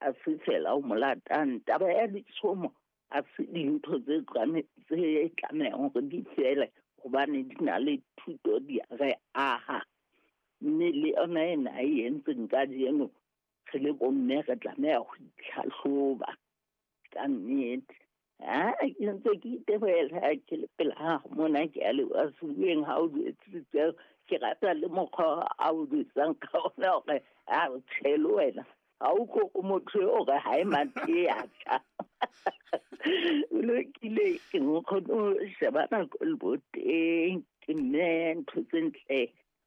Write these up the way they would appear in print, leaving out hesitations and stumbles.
a se fela o mo latang. Taba ya ditshomo a se dintho tse tlamehang hore di fele, hobane di na le thuto, di re aha. Mme le yona ena e entseng kajeno, re le bomme re tlameha ho itlhahloba ka nnete. Ha ke ntse ke itebohela ke le pela hao mona, ke a leboha sebueng ha o jwetsitse. Ke rata le mokgwa a o jwetsang ka ona hore a o tjhe le wena ha o ko o motho eo hore ha e mathe ya tjha. O lokile, ke nkgone ho sheba nako le boteng, ke mme ntho tse ntle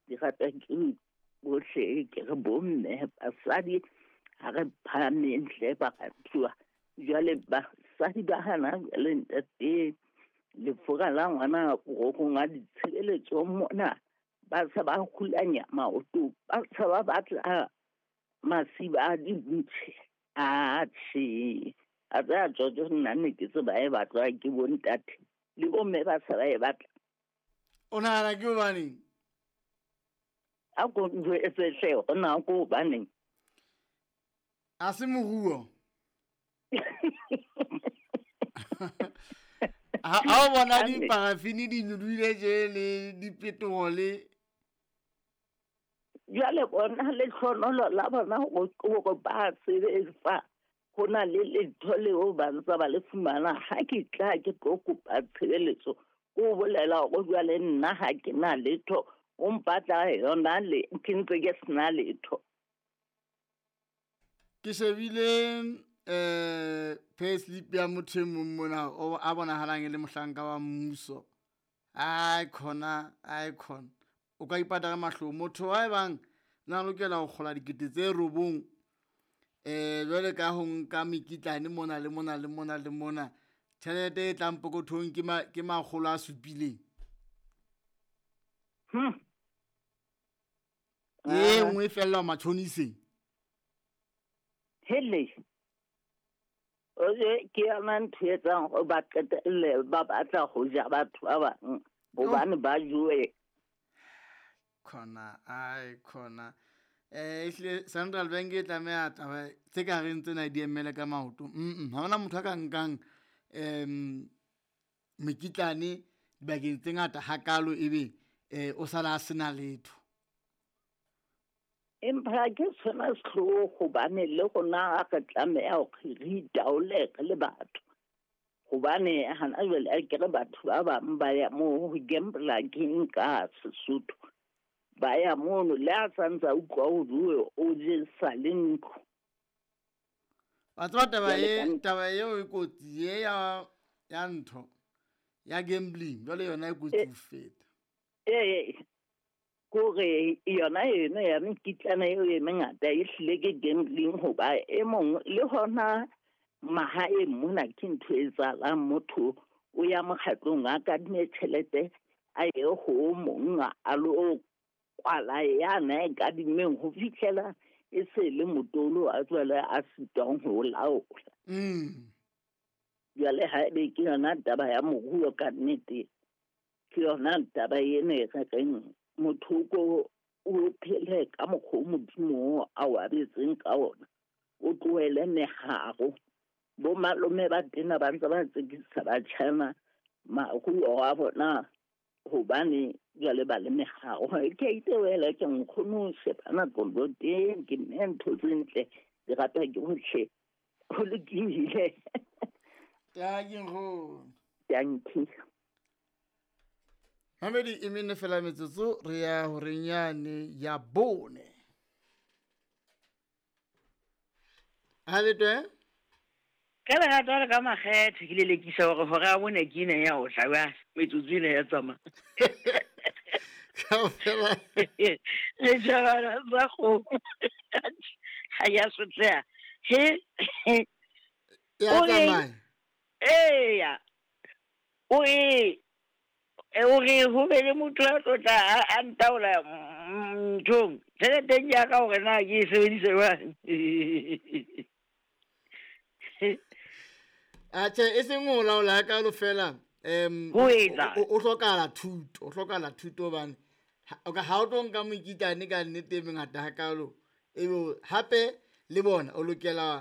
di rata ke bohle. Ke re bomme, basadi, ha re phahameng hle baratuwa. Jwale basadi ba hana jwale ntate, lefura la ngwana borokong a ditshebeletso mona, ba se ba hulanya maoto, ba se ba batla masiba a dintšhe. Atjhe, a tsaya tsotso, nna ne ke tseba e batlwa ke bontate le bomme, ba se ba e batla. O nahana ke hobaneng? A ko njwetse hle hore na ke hobaneng. A se moruo. Ha o bona diparafini di nyolohile tje le dipetrole. Jwale bona lehlohonolo la bona hore ba sebetsa, ho na le letho leo ba ntsa ba le fumana. Ha ke tla ke tlo kopa tshebeletso, ko bolela hore jwale nna ha ke na letho, o mpatla yona le ke ntse ke sena letho. Ke shebile payslip ya motho e mong mona o a bonahalang e le mohlanka wa mmuso. Ai khona, ai khona. O ka ipata ka mahlong. Motho wa e bang na lokela ho kgola 9,000 jwale ka ho nka mekitlane mona le mona le mona le mona, tjhelete e tlang pokothong ke 700. E nngwe e fella matjhoniseng. Hele. Oje ke yona ntho e etsang hore ba qetelle ba batla ho ja batho ba bang, hobane ba jowe. Khona, ai khona. Ehlile Central Bank e tlameha taba tse ka reng tsena di emele ka maoto. Ha hona motho a ka nkang mekitlane dibakeng tse ngata hakalo ebe o sala a sena letho. Empa ke sona sehloho, hobane le rona re tlameha hore re itaole re le batho. Hobane hana jwale a ke re batho ba bang ba ya moo ho gambler ke nka Sesotho. Ba ya mono le a santsa utlwa ho bue o jesa le ntlo. Wa tseba taba e, taba eo e kotsi e ya ntho ya gambling, jwale yona e kotsi ho feta. Kore yona eno ya mekitlana eo e mengata e hlile ke gambling, hoba e mong le hona mahaeng mona ke ntho e etsahalang. Motho o ya mokgatlong a kadime tjhelete, a ye ho mong a lo kwala yana e kadimeng ho fihlela e se le motolo a jwale a sitwang ho laola. Jwale ha ebe ke yona taba ya moruo ka nnete, ke yona taba ena e re reng motho ko o phele ka mokgwa o Modimo a o abetseng ka ona, o tlohele meharo. Bo malome ba tena ba ntse ba tsekisa batjhana maruo a bona, hobane jwale ba le meharo. Ke a itebohela ke nkgono ho sheba nako teng, ke mme ntho tse ntle di rata ke bohle. Ho lokile. Ke nkgono. Dankie. Mamedi e mene fela metsotso re ya horeng yane ya 4. Ha le twe? Ka lerato le ka makgethe ke lelekisa hore hora ya 4 ke ena ya ho tla ba metsotso ena ya tsamaya. Kaofela. Le jabana tsa kgomo. Ha ya sotleha. He. Ya tsamaya. Eya. O e o re ho be le motho a tlo tla a ntaola nthong. Tjhelete ya ka hore na ke e sebedise jwang. Atjhe, e seng ho laola ka lo fela. Ho etsa. O hlokahala thuto, o hlokahala thuto hobane ha o tlo nka mokitlane ka nnete e mengata hakalo. Ebe hape le bona o lokela